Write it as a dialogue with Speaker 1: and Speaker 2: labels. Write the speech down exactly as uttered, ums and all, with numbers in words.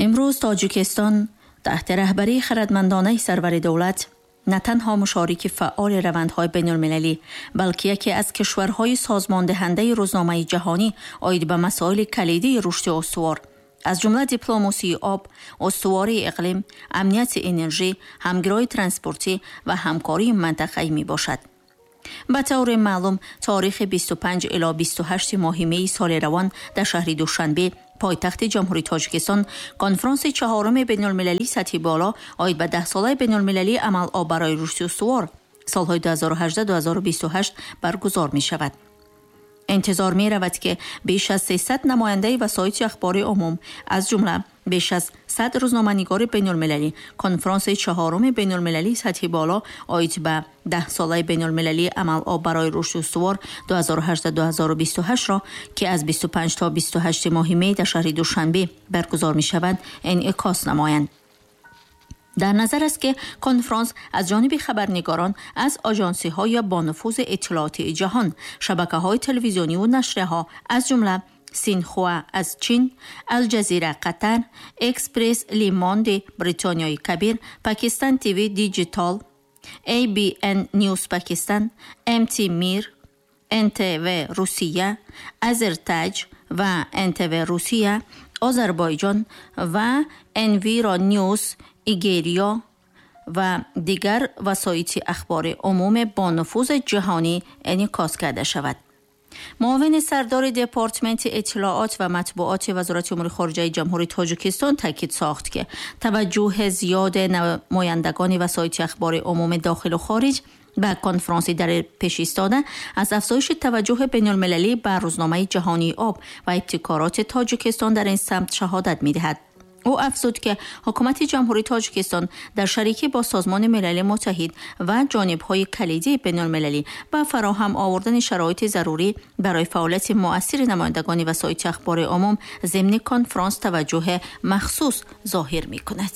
Speaker 1: Имрӯз Тоҷикистон таҳти раҳбарии хирадмандонаи сарвари давлат на танҳо мушорики фаъоли равандҳои байналмилалӣ, балки яке аз кишварҳои созмондиҳандаи рӯзномаи ҷаҳонӣ оид ба масоили калидии рушди устувор, аз ҷумла дипломасии об, устувории иқлим, амнияти энержӣ, ҳамгироии транспортӣ ва ҳамкории мантақавӣ мебошад. Ба таври маълум, таърихи бисту панҷ ило бисту ҳашт моҳи меи соли равон дар шаҳри Душанбе, пойтахти Ҷумҳурии Тоҷикистон, конфронси чаҳоруми байналмилалии сатҳи боло оид ба даҳсолаи байналмилалии амал об барои рушди устувор солҳои ду ҳазору ҳаждаҳ ду ҳазору бисту ҳашт баргузор мешавад. Интизор меравад, ки беш аз сесад намояндаи васоити ахбори умум, аз ҷумла беш аз сад рӯзноманигори байналмилалӣ конфронси чаҳоруми байналмилалии сатҳи боло оид ба даҳсолаи байналмилалии амал об барои рушди устувор ду ҳазору ҳаждаҳ ду ҳазору бисту ҳаштро, ки аз бисту панҷ то бисту ҳашт моҳи май дар шаҳри Душанбе баргузор мешавад, инъикос намоянд. Дар назар аст, ки конфронс аз ҷониби хабарнигорон аз оҷансиҳои бонуфузи иттилоотии ҷаҳон, шабакаҳои телевизиониву нашрияҳо, аз ҷумла Синхуа аз Чин, Алҷазира Қатар, Экспресс Лимонди Бритониёи Кабир, Пакистан ТВ Диджитал, Эй Би Эн Ньюс Пакистан, Эм Ти Мир, Эн Тэ Вэ Русия, Азертаҷ ва Эн Тэ Вэ Русия, Озарбойҷон ва Энвиро Ньюс Нигерия ва дигар васоити ахбори умум бо нуфузи ҷаҳонӣ инъикос карда шавад. Муовини сардори департаменти иттилоот ва матбуоти Вазорати умури хориҷаи Ҷумҳурии Тоҷикистон таъкид сохт, ки таваҷҷӯҳи зиёди намояндагони васоити ахбори умуми дохилу хориҷ ба конфронси дар пеш истода аз афзоиши таваҷҷӯҳи байналмилалӣ ба рӯзномаи ҷаҳонии об ва ибтикороти Тоҷикистон дар ин самт шаҳодат медиҳад. Ӯ афзуд, ки ҳукумати Ҷумҳурии Тоҷикистон дар шарикӣ бо Созмони Милали Муттаҳид ва ҷонибҳои калидии байналмилалӣ ба фароҳам овардани шароити зарурӣ барои фаъолияти муассири намояндагони васоити ахбори умум зимни конфронс таваҷҷӯҳи махсус зоҳир мекунад.